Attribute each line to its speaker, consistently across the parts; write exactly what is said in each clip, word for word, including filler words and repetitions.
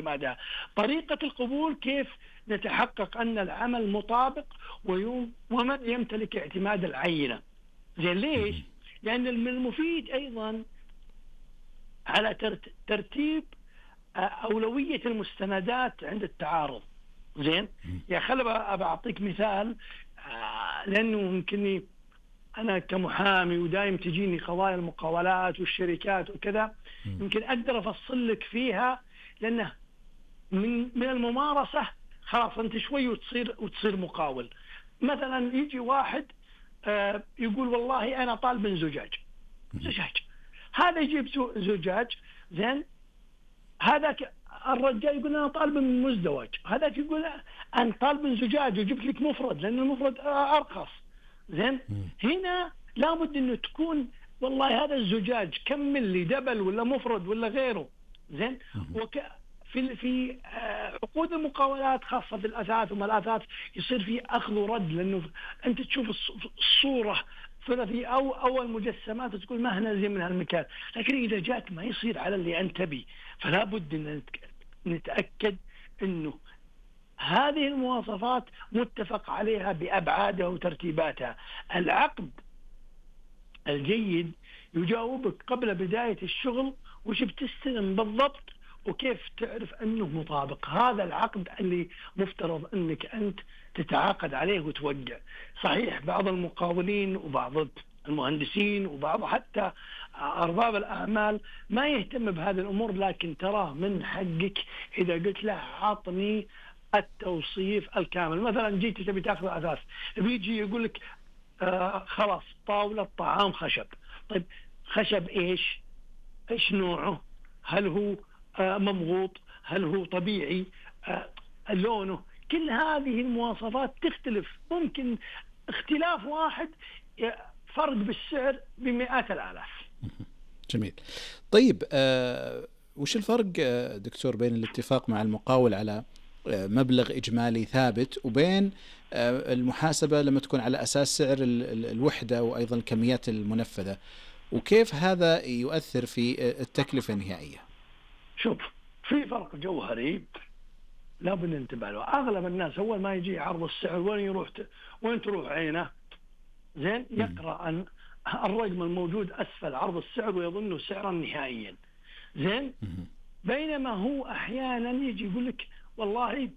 Speaker 1: اعتمادها. طريقة القبول كيف نتحقق أن العمل مطابق ويوم ومن يمتلك اعتماد العينة. زين ليش؟ لأن من المفيد أيضا على ترتيب أولوية المستندات عند التعارض. زين يا خلي أعطيك مثال، لأنه يمكن أنا كمحامي ودائم تجيني قضايا المقاولات والشركات وكذا، يمكن أقدر أفصل لك فيها، لأنه من من الممارسة خلاص أنت شوي وتصير وتصير مقاول. مثلا يجي واحد آه يقول والله أنا طالب زجاج زجاج هذا يجيب زجاج. زين هذاك الرجال يقول أنا طالب من مزدوج، هذاك يقول أنا طالب من زجاج وجبت لك مفرد لأن المفرد أرخص. زين هنا لابد إنه تكون والله هذا الزجاج كم ملي دبل ولا مفرد ولا غيره. زين وك في في عقود المقاولات خاصة في الأثاث وما الأثاث يصير في أخذ ورد، لأنه أنت تشوف الصورة ثلاثي أو أول مجسمات تقول ما هنا زي من هالمكان، لكن إذا جات ما يصير على اللي أنت بي. فلا بد أن نتأكد إنه هذه المواصفات متفق عليها بأبعادها وترتيباتها. العقد الجيد يجاوبك قبل بداية الشغل وش بتستلم بالضبط وكيف تعرف أنه مطابق. هذا العقد اللي مفترض أنك أنت تتعاقد عليه وتوقع. صحيح بعض المقاولين وبعض المهندسين وبعض حتى أرباب الأعمال ما يهتم بهذه الأمور، لكن ترى من حقك إذا قلت له عطني التوصيف الكامل. مثلا جيت تبي تاخذ أثاث، بيجي يقول لك آه خلاص طاولة طعام خشب. طيب خشب إيش؟ إيش نوعه؟ هل هو آه ممغوط؟ هل هو طبيعي؟ آه لونه؟ كل هذه المواصفات تختلف، ممكن اختلاف واحد فرق بالسعر بمئات الآلاف.
Speaker 2: جميل. طيب آه وش الفرق آه دكتور بين الاتفاق مع المقاول على آه مبلغ إجمالي ثابت وبين آه المحاسبة لما تكون على أساس سعر الوحدة وأيضا الكميات المنفذة، وكيف هذا يؤثر في التكلفة النهائية؟
Speaker 1: شوف في فرق جوهري لابد ننتبه له. أغلب الناس أول ما يجي عرض السعر وين يروح ت... وين تروح عينه؟ زين يقرأ أن الرقم الموجود أسفل عرض السعر ويظنه سعرا نهائيا. زين بينما هو أحيانا يجي يقول لك والله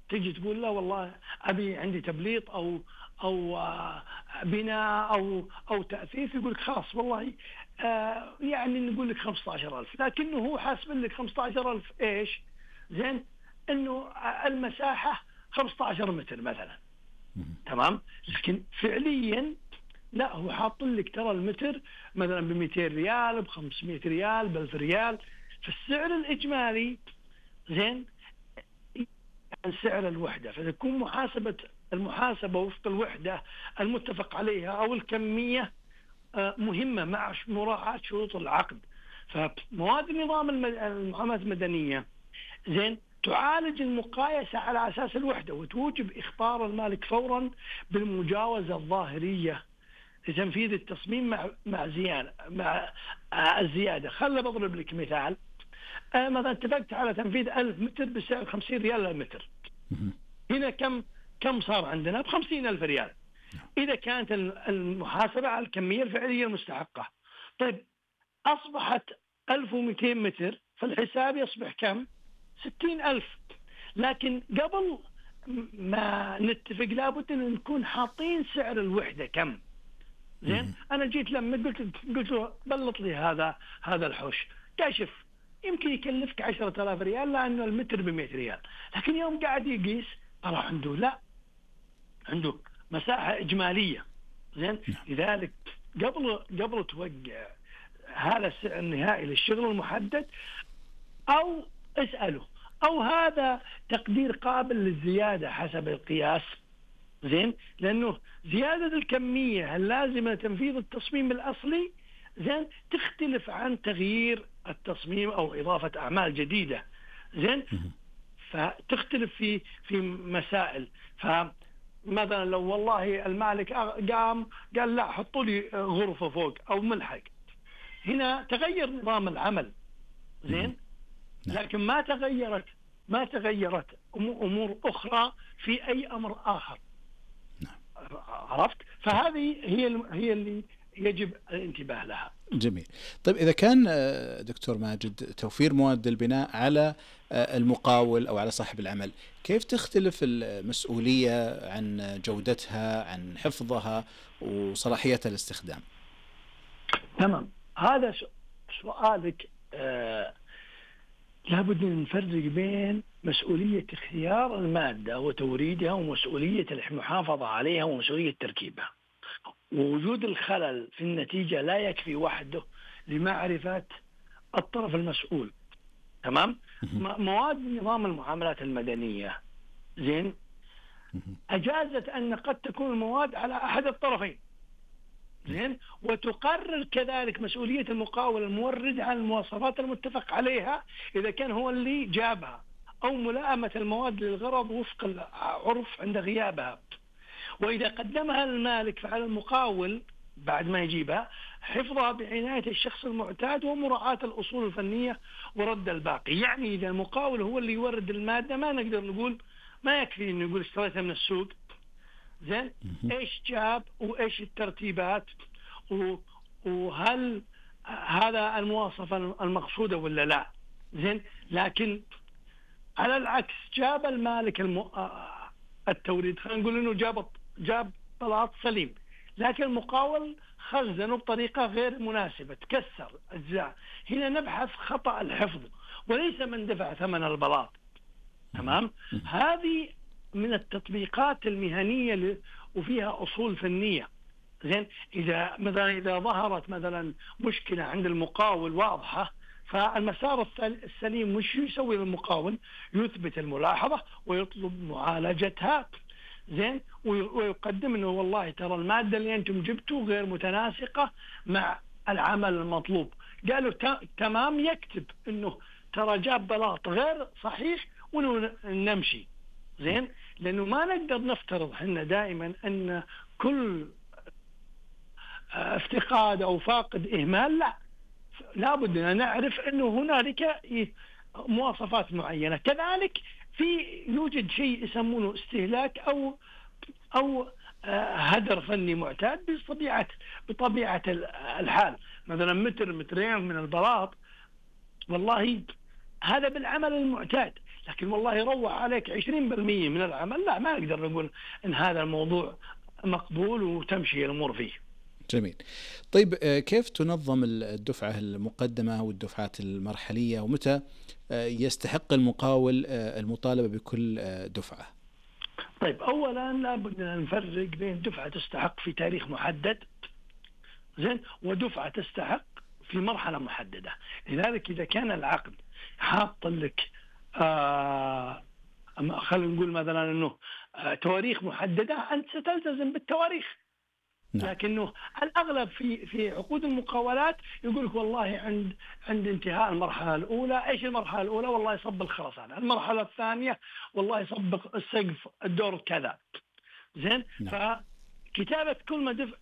Speaker 1: تجي تقول له والله أبي عندي تبليط أو أو بناء أو أو تأثيث، يقول لك خلاص والله آه يعني نقول لك خمسة عشر ألف، لكنه هو حاسب لك خمسة عشر ألف إيش؟ زين إنه المساحة خمسة عشر متر مثلا، تمام، لكن فعليا لا هو حاط لك ترى المتر مثلا ب مئتين ريال ب خمسمئة ريال ب ألف ريال. فالسعر الإجمالي زين عن سعر الوحدة، فتكون محاسبة المحاسبة وفق الوحدة المتفق عليها أو الكمية مهمة مع مراعاة شروط العقد. فمواد النظام المعاملات المدنية زين تعالج المقايسة على أساس الوحدة وتوجب إخبار المالك فورا بالمجاوزة الظاهرية لتنفيذ التصميم مع مع زيادة مع الزيادة. خلنا بضرب لك مثال، آه مثلا اتفقت على تنفيذ ألف متر بسعر خمسين ريال للمتر، هنا كم كم صار عندنا؟ بخمسين ألف ريال إذا كانت المحاسبة على الكمية الفعلية المستحقة. طيب أصبحت ألف ومئتين متر فالحساب يصبح كم؟ ستين ألف. لكن قبل ما نتفق لابد أن نكون حاطين سعر الوحدة كم. زين أنا جيت لما قلت قلت له بلط لي هذا هذا الحوش، كاشف يمكن يكلفك عشرة آلاف ريال لأنه المتر بمئة ريال، لكن يوم قاعد يقيس طلع عنده لا عنده مساحة إجمالية. زين لذلك قبل قبل توقع هذا السعر النهائي للشغل المحدد أو اسأله أو هذا تقدير قابل للزيادة حسب القياس. زين لأنه زيادة الكمية اللازمة لتنفيذ التصميم الأصلي زين تختلف عن تغيير التصميم أو إضافة أعمال جديدة. زين فتختلف في في مسائل. فمثلا لو والله المالك قام قال لا حطوا لي غرفة فوق أو ملحق، هنا تغير نظام العمل. زين لكن ما تغيرت ما تغيرت أمور أخرى في أي أمر آخر. عرفت؟ فهذه هي هي اللي يجب الانتباه لها.
Speaker 2: جميل. طيب إذا كان دكتور ماجد توفير مواد البناء على المقاول أو على صاحب العمل، كيف تختلف المسؤولية عن جودتها، عن حفظها وصلاحية الاستخدام؟
Speaker 1: تمام، هذا سؤالك. آه لابد أن نفرق بين مسؤولية اختيار المادة وتوريدها ومسؤولية المحافظة عليها ومسؤولية تركيبها. ووجود الخلل في النتيجة لا يكفي وحده لمعرفة الطرف المسؤول. تمام. مواد نظام المعاملات المدنية زين أجازت أن قد تكون المواد على أحد الطرفين زين، وتقرر كذلك مسؤولية المقاول المورد عن المواصفات المتفق عليها إذا كان هو اللي جابها، أو ملائمة المواد للغرض وفق العرف عند غيابها. وإذا قدمها المالك فعلى المقاول بعد ما يجيبها حفظها بعناية الشخص المعتاد ومراعاة الأصول الفنية ورد الباقي. يعني إذا المقاول هو اللي يورد المادة ما نقدر نقول، ما يكفي إنه يقول اشتريتها من السوق زين، إيش جاب وإيش الترتيبات وهل هذا المواصفة المقصودة ولا لا زين. لكن على العكس جاب المالك الم... التوريد، خلينا نقول إنه جاب جاب بلاط سليم، لكن المقاول خزنه بطريقة غير مناسبة، تكسر أجزاء. هنا نبحث خطأ الحفظ وليس من دفع ثمن البلاط. تمام. هذه من التطبيقات المهنية وفيها أصول فنية زين. إذا مثلا إذا ظهرت مثلا مشكلة عند المقاول واضحة، فالمسار السليم مش يسوي المقاول، يثبت الملاحظة ويطلب معالجتها زين، ويقدم انه والله ترى المادة اللي انتم جبتوا غير متناسقة مع العمل المطلوب. قالوا تمام، يكتب انه ترى جاب بلاط غير صحيح ونمشي زين. لانه ما نقدر نفترض احنا دائما ان كل افتقاد او فاقد اهمال، لا، لابد ان نعرف انه هنالك مواصفات معينة. كذلك في يوجد شيء يسمونه استهلاك او او هدر فني معتاد بطبيعة بطبيعة الحال. مثلا متر مترين من البلاط والله هذا بالعمل المعتاد، لكن والله يروح عليك عشرين بالمئة من العمل، لا، ما نقدر نقول ان هذا الموضوع مقبول وتمشي الامور فيه.
Speaker 2: جميل. طيب كيف تنظم الدفعة المقدمة والدفعات المرحلية، ومتى يستحق المقاول المطالبة بكل دفعة؟
Speaker 1: طيب أولا لابد أن نفرق بين دفعة تستحق في تاريخ محدد زين ودفعة تستحق في مرحلة محددة. لذلك إذا كان العقد حاط لك آه خلينا نقول مثلا أنه آه تواريخ محددة، أنت ستلتزم بالتواريخ. لكنه الأغلب في في عقود المقاولات يقول لك والله عند عند انتهاء المرحلة الأولى، إيش المرحلة الأولى؟ والله يصب الخرسانة. المرحلة الثانية والله يصب السقف الدور كذا زين. فكتابة كل ما دفع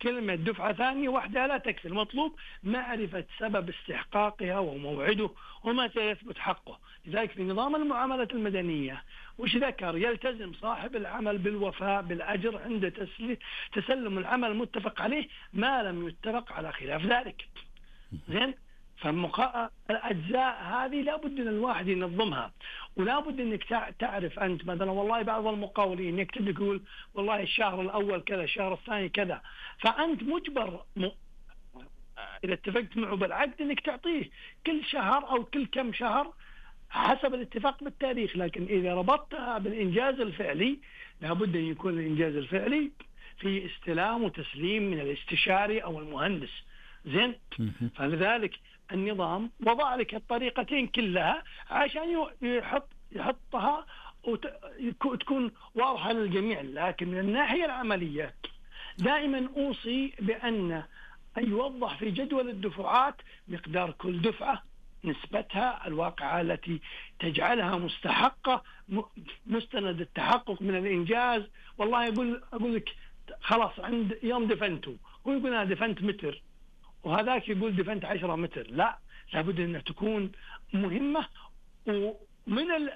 Speaker 1: كلمة دفعة ثانية واحدة لا تكفي، المطلوب معرفة سبب استحقاقها وموعده وما سيثبت حقه. لذلك في نظام المعاملات المدنية وش ذكر؟ يلتزم صاحب العمل بالوفاء بالأجر عند تسلم العمل المتفق عليه ما لم يتفق على خلاف ذلك زين. فالأجزاء هذه لابد أن الواحد ينظمها، ولابد أنك تعرف أنت مثلا والله بعض المقاولين يكتب لك يقول والله الشهر الأول كذا، الشهر الثاني كذا، فأنت مجبر م... إذا اتفقت معه بالعقد أنك تعطيه كل شهر أو كل كم شهر حسب الاتفاق بالتاريخ. لكن إذا ربطتها بالإنجاز الفعلي لابد أن يكون الإنجاز الفعلي في استلام وتسليم من الاستشاري أو المهندس زين. فلذلك النظام وضع لك الطريقتين كلها عشان يحط يحطها وتكون واضحة للجميع. لكن من الناحية العملية دائما أوصي بأن أن يوضح في جدول الدفعات مقدار كل دفعة، نسبتها الواقعة التي تجعلها مستحقة، مستند التحقق من الإنجاز. والله يقول أقول لك خلاص عند يوم دفنته، هو يقول أنا دفنت متر وهذاك يقول دفنت عشرة متر، لا، لابد أن تكون مهمة. ومن